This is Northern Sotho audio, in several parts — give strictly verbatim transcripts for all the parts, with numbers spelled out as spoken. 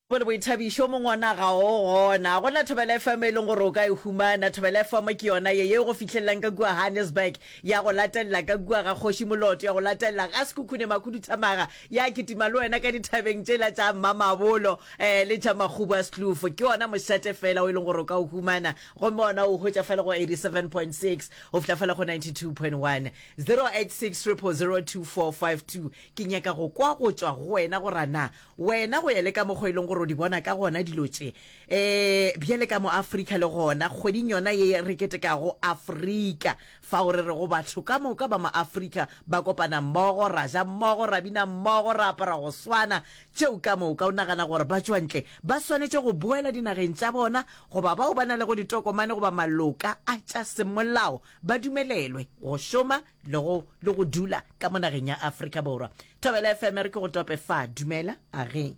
Bone boithabišo mongwana ga o gona. Go na Thobela F M e leng gore o ka e humana. Thobela F M ke yona ye ye go fihlelelang ka kua Johannesburg, ya go latelela ka kua ga Kgoši Moloto, ya go latelela ga Sekhukhune Makhuduthamaga, ya kitima le wena ka dithabeng tšela tša Mmamabolo um le tša Makgubu a Sekloof. Ke ona mošate fela o e leng gore o ka o humana, gomme ona o hwetša fela go eighty-seven point six go fihla fela go ninety-two point one. zero eight six zero zero zero two four five two. Ke nyaka go kwa go tšwa go wena gore na wena, go ya le ka mokgwa e leng gore o di bona ka gona dilo tše, um bjale ka mo Afrika, le gona kgweding yona ye re ketekago Afrika, fao re re go batho ka moka ba mo Afrika ba kopana mmogo, ra ja mmogo, ra bina mmogo, ra apara go swana, tšeo ka moka, o nagana gore ba tšwantle ba swanetše go boela dinageng tša bona, goba bao ba na le go ditokomane goba maloka a tša semolao ba dumelelwe go šoma le go le go dula ka mo nageng ya Afrika Borwa? Thobela F M, re ke go tope fa. Dumela, age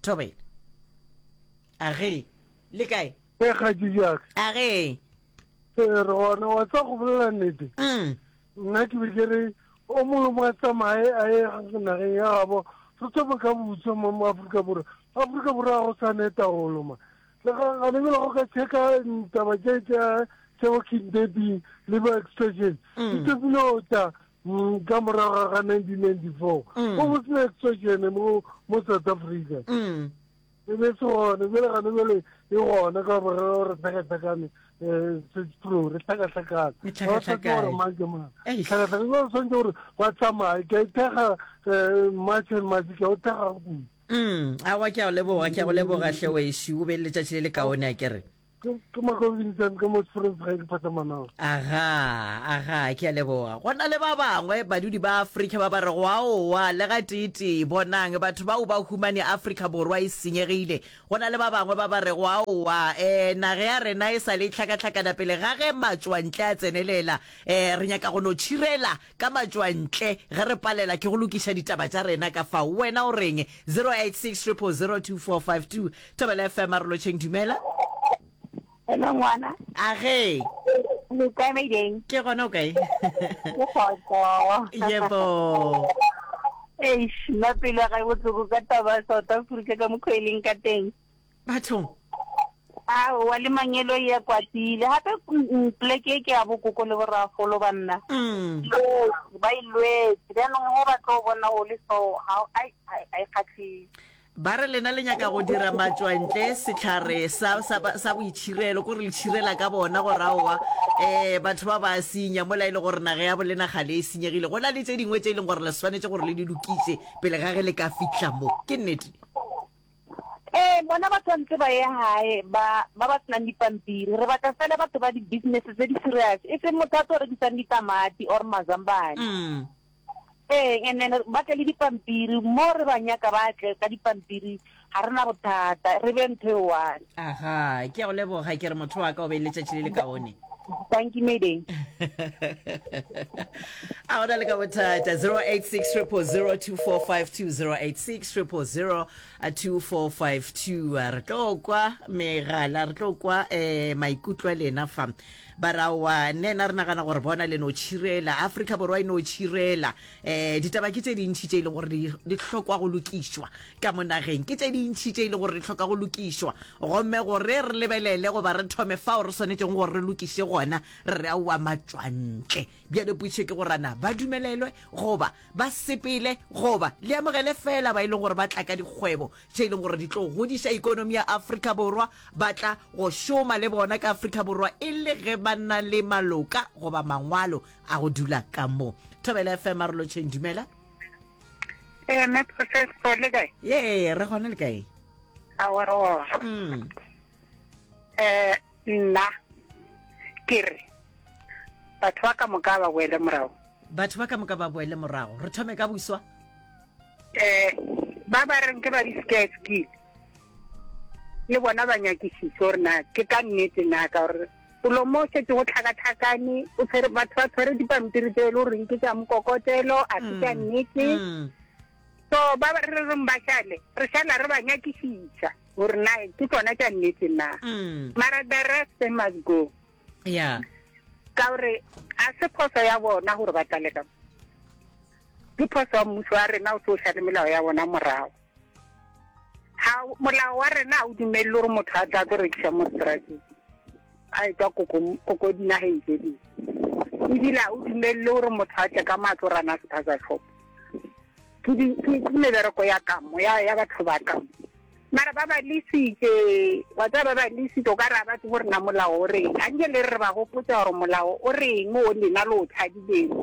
Thobela, age, le kae? E kgatši jaka. Age. Ee, re gona. Wa tsa go bolela nnete, mm. nna ke be ke re o mongwe mo a tsamaye a ye nageng ya gabo, re thome ka botso mo mo Aforika Borwa. Aforika Borwa ga go sa ne taolo ma le gane bjale. Go ka checka taba tše tša tša bo kidnapping le bo extortion, di thomile go tla mm, ka morago ga nineteen ninety-four. Go go sena extortion mo mo South Africa, Mm. e be se gone. Bjale gane bjale e gona ka gore re tlhakatlhakane, um pro re tlhakatlhakane. Re tlhakatlhakane. Gore mang ke mang. Eish. Tlhakatlhakane ba tshwanetse gore ba tsamaye. Ke a ithekga, um March and March, ke a o thekga kudu. Mm. Awa, ke a go leboga, ke a go leboga hle wešo. O be le letšatši le le kaone, a ke re. Ke ke Makobintsane ka mo Springs, ga ke phatlamanao. Aga, aga, ke a leboga. Go na le ba bangwe badudi ba Afrika ba ba rego aowa, le ga tee-tee, bonang batho bao ba humane Afrika Borwa e senyegile. Go na le ba bangwe ba ba rego aowa, um naga ya rena e sa le tlhakatlhakana pele ga ge matšwantle a tsenelela, um re nyaka go no tšhirela ka matšwantle ge re palela ke go lokiša ditaba tša rena ka fao. Wena o reng? zero eight six zero zero zero two four five two. Thobela F M, a re lotšheng. Dumela. Hello ngwana. Age. Le kae, Maideng? Ke gona, o kae? Ke kgotso. Yebo. Eish, nna pelo ya gae botlhoko ka taba ya South Africa ka mokgwa e leng ka teng. Bathong. Aowa, le mangelo ya kwatile. Gape mm, poleke e ke ya bokoko le boragolo banna. Mm. Lwetse, ba e lwetse. Jaanong ge ba tlo bona go le so, ga ai ai ai kgatlhise. Ba re lena le nyaka go dira matšwantle sehlare sa, sa, sa boitšhirelo, kore le tšhirela ka bona gore aowa, um batho ba ba senya mola e le gore naga ya bolena gale e senyegile. Go na le tše dingwe tše e leng gore le swanetše gore le di lokiše pele ga ge le ka fihla mo. Ke nnete? Ee, bona ba tshwanetse ba ye gae, ba ba ba senang dipampiri. Re batla fela batho ba di-business tse di serious, e seng motho a tlo rekisang ditamati or mazambane. mm. Ee, and then ba tle le dipampiri mo re ba nyaka, ba tle ka dipampiri, ga re na bothata, re be ntho e one. Aga, ke a go leboga, ke re motho wa ka o be le letšatši le le kaone. Thank you, Maideng. A gona le ka bothata. zero eight six zero zero two four five two, zero eight six zero zero two four five two. Re tlo kwa megala, re tlo kwa um maikutlo a lena fa. Ba raowa nena re nagana gore bona le no tšhirela, Afrika Borwa e no tšhirela. um ditaba ke tše dintšhi tše e leng gore di di hlokwa go lokišwa ka mo nageng, ke tše dintšhi tše e leng gore di hloka go lokišwa, gomme gore re lebelele goba re thome fao re swanetšeng gore re lokiše gona, re re aowa, matšwantle. Bjale potšo ke gore na ba dumelelwe goba ba sepele, goba le amogele fela ba e leng gore ba tla ka dikgwebo tše e leng gore di tlo godiša ikonomi ya Afrika Borwa, ba tla go šoma le bona ka Afrika Borwa e le ge ba na le maloka goba mangwalo a go dula ka mo. Thobela F M, a re lotšheng. Dumela. Ee, mme Process, le kae? Ye, re gona, le kae? Aowa, re gona. mm. um nna ke re batho ba ka moka ba boele morago. Batho ba ka moka ba boele morago. Re thome ka boswa. um ba ba reng ke ba di-scared skill, le bona ba nyakišiše gore na ke ka nnete na, ka gore polo mo setse go tlhakatlhakane, o tshwere batho ba tshwere dipampiri tse e le goreng ke tša mokokotelo, a se tša nnete. Mm. So ba ba re reng ba šale, re šala re ba nyakišiša gore na ke tsona tša nnete na. Mm. Mara the rest, they must go, yeah ka gore a se phoso ya bona gore ba tlale ka mo, ke phoso ya mmuso wa rena o se o šale melao ya bona morago. Ga molao wa rena ga o dumelele gore motho a tla tlo rekiša mo strateng a etwa koko koko dinageng tše dingwe. Ebile ga o dumelele gore motho a tle ka matlo rana spaza shop. Ke di ke ke mebereko ya kamo ya ya batho ba kamo. Mara ba ba lesitše, wa tseba ba ba lesitše o ka re ga ba tsebe gore na molao o reng. A nke le re re ba gopotša gore molao o reng o lena le o tshadileng.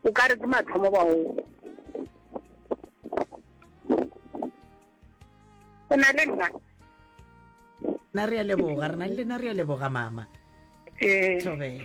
O ka re ke mathomo ba o. O na le nna? Na re a leboga, re na le lena re a leboga mama. Ee. Thobela.